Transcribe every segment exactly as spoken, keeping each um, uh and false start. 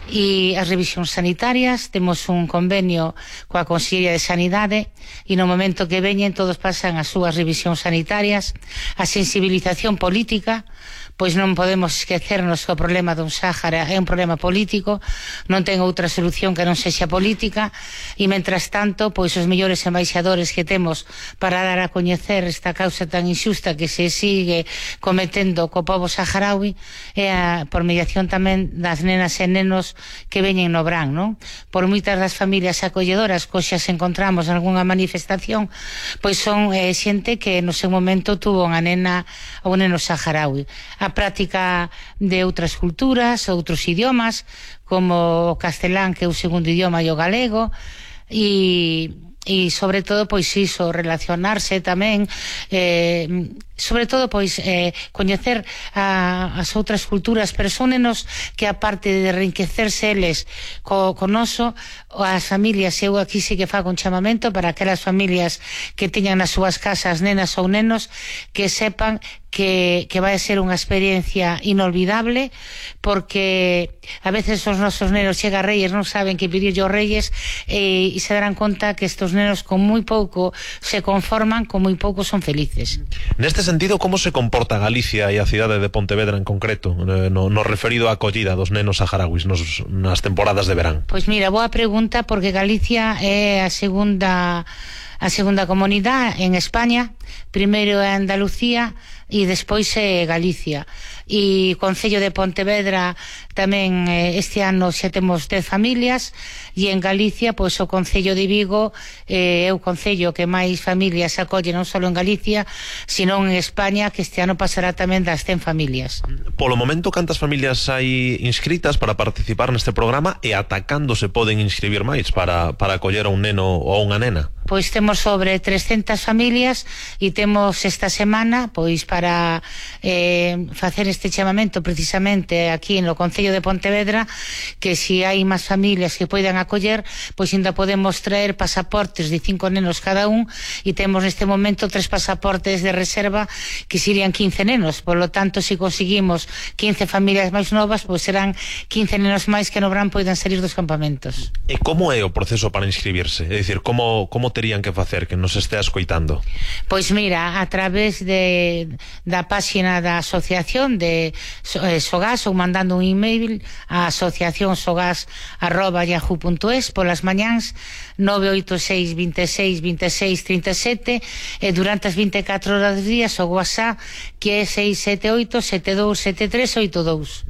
e as revisións sanitarias. Temos un convenio coa Consellería de Sanidade e no momento que veñen todos pasan as súas revisións sanitarias. A sensibilización política, pois non podemos esquecernos que o problema dun Sáhara é un problema político, non ten outra solución que non sexa política, e mentras tanto, pois os mellores embaixadores que temos para dar a coñecer esta causa tan injusta que se sigue cometendo co pobo saharaui é a, por mediación tamén das nenas e nenos que veñen no Bran, non? Por moitas das familias acolledoras que xa se encontramos en algunha manifestación, pois son eh, xente que no seu momento tuvo unha nena ou un neno saharaui. A práctica de outras culturas, outros idiomas, como o castelán, que é o segundo idioma, e o galego, e, e sobre todo, pois iso, relacionarse tamén, eh, sobre todo, pois, eh, coñecer a, as outras culturas, pero son nenos que, aparte de enriquecerse eles co, co noso, as familias, eu aquí sí que fago un chamamento para aquelas familias que teñan nas súas casas nenas ou nenos, que sepan que, que vai ser unha experiencia inolvidable, porque a veces os nosos nenos chega a Reyes, non saben que pedir aos Reyes, e, e se darán conta que estos nenos con moi pouco se conforman, con moi pouco son felices. Neste sentido, como se comporta Galicia e a cidade de Pontevedra en concreto no, no referido á acollida dos nenos saharauis nos, nas temporadas de verán? Pois mira, boa pregunta, porque Galicia é a segunda a segunda comunidade en España. Primeiro é Andalucía e despois é Galicia. E o Concello de Pontevedra tamén este ano xa temos dez familias, e en Galicia, pois o Concello de Vigo eh, é o concello que máis familias acolle non só en Galicia, sino en España, que este ano pasará tamén das cen familias. Polo momento, cantas familias hai inscritas para participar neste programa, e ata cando se poden inscribir máis para, para acoller a un neno ou a unha nena? Pois temos sobre trescentas familias, e temos esta semana, pois para eh, facer este chamamento precisamente aquí no Concello de Pontevedra, que se hai máis familias que poidan acoller, pois ainda podemos traer pasaportes de cinco nenos cada un, e temos neste momento tres pasaportes de reserva que serían quince nenos. Por lo tanto, se conseguimos quince familias máis novas, pois serán quince nenos máis que no verán poidan salir dos campamentos. E como é o proceso para inscribirse? É dicir, como, como terían que facer, que nos estea escoitando? Pois mira, a través de da páxina da asociación de eh, Sogas, ou mandando un email a asociación sogas arroba yahoo punto es polas mañáns nove oito seis, veintiséis, veintiséis, treinta e sete, e durante as vinte e catro horas do día o WhatsApp, que é seis sete oito, sete dous sete tres oito dous.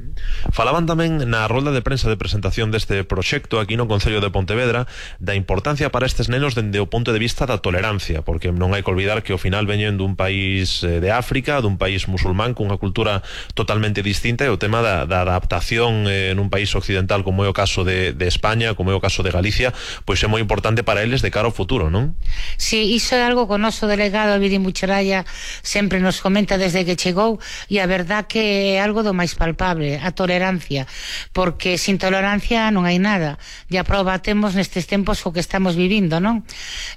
Falaban tamén na rolda de prensa de presentación deste proxecto aquí no Concello de Pontevedra da importancia para estes nenos dende o punto de vista da tolerancia, porque non hai que olvidar que ao final veñen dun país de África, dun país musulmán cunha cultura totalmente distinta, e o tema da, da adaptación eh, nun país occidental como é o caso de, de España, como é o caso de Galicia, pois é moi importante para eles de cara ao futuro, non? Sí, iso é algo que o noso delegado Abidi Mucharaya sempre nos comenta desde que chegou, e a verdad que é algo do máis palpable, a tolerancia, porque sin tolerancia non hai nada, e a proba temos nestes tempos co que estamos vivindo, non?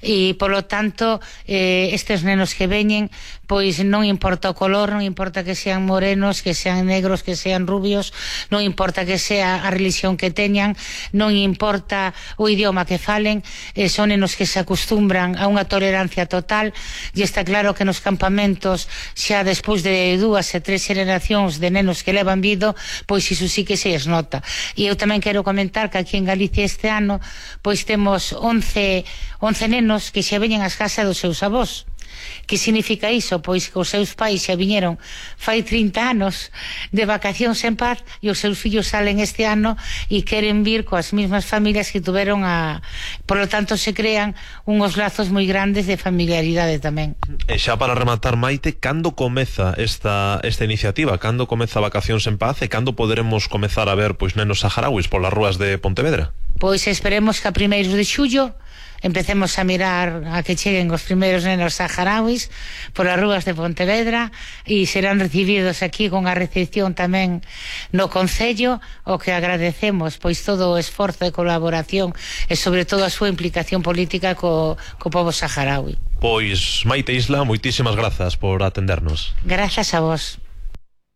E polo tanto, eh, estes nenos que veñen, pois non importa o color, non importa que sean morenos, que sean negros, que sean rubios, non importa que sea a religión que teñan, non importa o idioma que falen, eh, son nenos que se acostumbran a unha tolerancia total, e está claro que nos campamentos, xa despois de dúas e tres generacións de nenos que levan vido, pois iso sí que se esnota. E eu tamén quero comentar que aquí en Galicia este ano pois temos once nenos que xa veñen ás casas dos seus avós. Que significa iso? Pois que os seus pais xa viñeron fai trinta anos de vacacións en paz, e os seus fillos salen este ano e queren vir coas mesmas familias que tuveron a... Por lo tanto, se crean unhos lazos moi grandes de familiaridade tamén. E xa para rematar, Maite, cando comeza esta, esta iniciativa? Cando comeza Vacacións en Paz, e cando poderemos comezar a ver pois nenos saharauis polas rúas de Pontevedra? Pois esperemos que a primeiros de xullo empecemos a mirar a que cheguen os primeiros nenos saharauis polas rúas de Pontevedra, e serán recibidos aquí con a recepción tamén no Concello, o que agradecemos pois todo o esforzo de colaboración e sobre todo a súa implicación política co, co povo saharaui. Pois, Maite Isla, moitísimas grazas por atendernos. Grazas a vos.